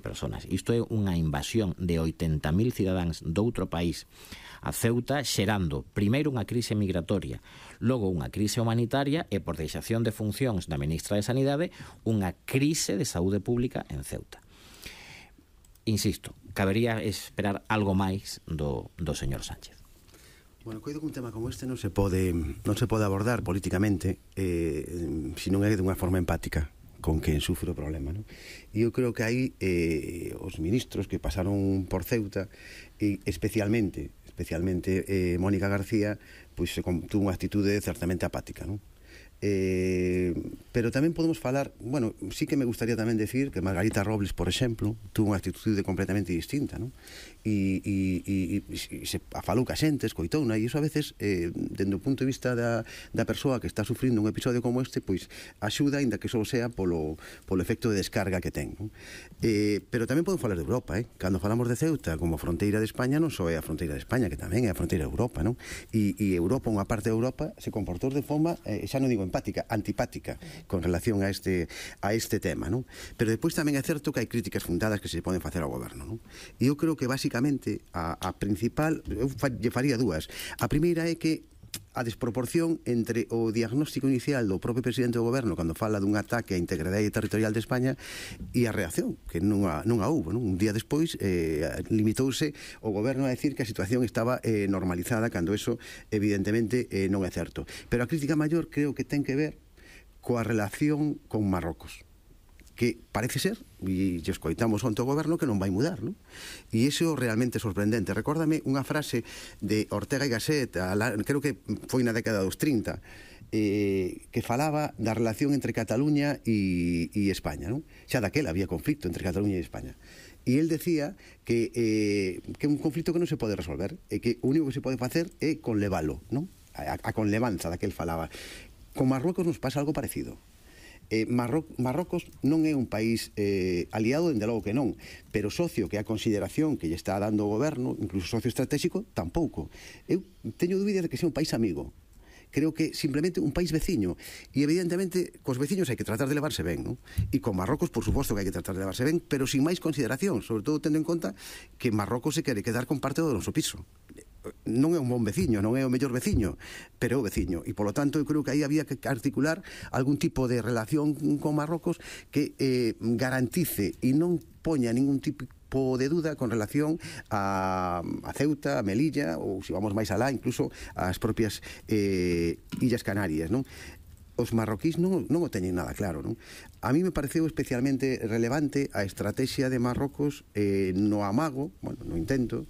personas. Isto é unha invasión de 80.000 cidadáns doutro país a Ceuta, xerando primeiro unha crise migratoria, logo unha crise humanitaria e, por deixación de funcións da ministra de Sanidade, unha crise de saúde pública en Ceuta. Insisto, cabería esperar algo máis do señor Sánchez. Bueno, coido que un tema como este non se pode abordar políticamente se non é de unha forma empática con quen sufre o problema, non? E eu creo que aí os ministros que pasaron por Ceuta, e especialmente Mónica García, pois tuvo unha actitude certamente apática, non? Pero tamén podemos falar, bueno, sí que me gustaría tamén decir que Margarita Robles, por exemplo, tuvo unha actitude completamente distinta, non? E se falou ca xente, escoitouna, e iso a veces, dende o punto de vista da persoa que está sufrindo un episodio como este, pois axuda, ainda que só sea polo efecto de descarga que ten, non? Pero tamén podemos falar de Europa, cando falamos de Ceuta como fronteira de España, non só é a fronteira de España, que tamén é a fronteira de Europa, non? E Europa, unha parte de Europa, se comportou de forma, xa non digo empática, antipática con relación a este tema, non? Pero depois tamén é certo que hai críticas fundadas que se poden facer ao goberno, non? E eu creo que basicamente a principal, eu lle faría dúas. A primeira é que a desproporción entre o diagnóstico inicial do propio presidente do goberno cando fala dun ataque á integridade territorial de España e a reacción, que non a houve, non? Un día despois limitouse o goberno a decir que a situación estaba normalizada, cando eso evidentemente non é certo. Pero a crítica maior creo que ten que ver coa relación con Marrocos, que parece ser, e escoitamos onte o goberno, que non vai mudar, non? E iso é realmente sorprendente. Recórdame unha frase de Ortega y Gasset, creo que foi na década dos 30, que falaba da relación entre Cataluña e España, non? Xa daquela había conflicto entre Cataluña e España. E el decía que é un conflicto que non se pode resolver, e que o único que se pode facer é conlevalo, non? A conlevanza da que el falaba. Con Marruecos nos pasa algo parecido. Marrocos non é un país aliado, dende logo que non, pero socio, que a consideración que lle está dando o goberno, incluso socio estratégico, tampouco. Eu teño dúbidas de que sea un país amigo. Creo que simplemente un país veciño, e evidentemente cos veciños hai que tratar de levarse ben, non? E con Marrocos, por suposto que hai que tratar de levarse ben, pero sin máis consideración, sobre todo tendo en conta que Marrocos se quere quedar con parte do noso piso. Non é un bon veciño, non é o mellor veciño, pero é o veciño, e polo tanto eu creo que aí había que articular algún tipo de relación con Marrocos que garantice e non poña ningún tipo de duda con relación a Ceuta, a Melilla, ou se vamos máis alá, incluso as propias Illas Canarias, non? Os marroquís non o teñen nada claro, non? A mí me pareceu especialmente relevante a estrategia de Marrocos no amago, bueno, no intento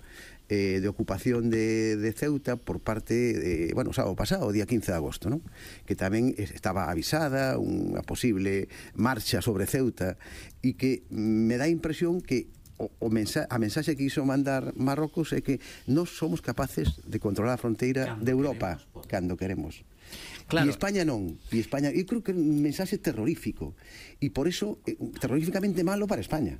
de ocupación de Ceuta por parte o sábado pasado, o día 15 de agosto, non? Que tamén estaba avisada unha posible marcha sobre Ceuta, e que me dá a impresión que a mensaxe que iso mandar Marrocos é que nós somos capaces de controlar a fronteira de Europa cando queremos. Claro. E España non. E España, eu creo que é un mensaxe terrorífico, e por iso terroríficamente malo para España.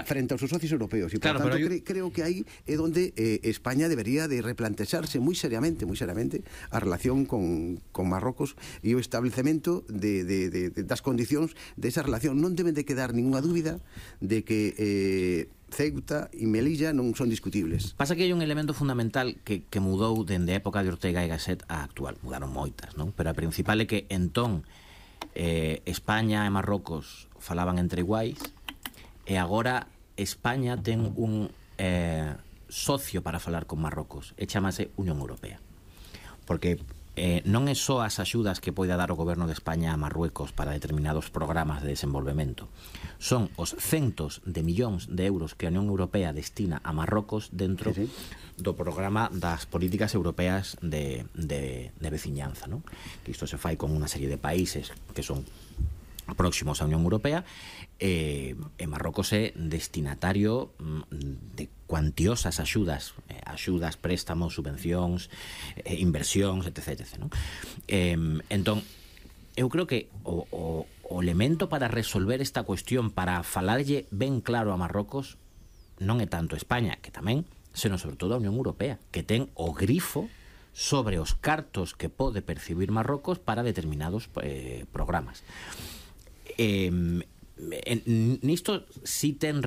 Frente aos seus socios europeos, e por tanto creo que aí é onde España debería de replantexarse moi seriamente a relación con Marrocos e o establecemento das condicións desa relación. Non deben de quedar ninguna dúbida de que Ceuta e Melilla non son discutibles. Pasa que hai un elemento fundamental que mudou dende a época de Ortega y Gasset a actual. Mudaron moitas, non? Pero a principal é que entón España e Marrocos falaban entre iguais, e agora España ten un socio para falar con Marrocos, e chamase Unión Europea, porque non é só as axudas que poida dar o goberno de España a Marruecos para determinados programas de desenvolvemento, son os centos de millóns de euros que a Unión Europea destina a Marrocos dentro do programa das políticas europeas de veciñanza, non? Que isto se fai con unha serie de países que son próximos á Unión Europea, e Marrocos é destinatario de cuantiosas axudas, préstamos, subvencións, inversións, etc. Non? Entón, eu creo que o elemento para resolver esta cuestión, para falarlle ben claro a Marrocos, non é tanto España, que tamén, senón sobre todo a Unión Europea, que ten o grifo sobre os cartos que pode percibir Marrocos para determinados programas. Nisto sí ten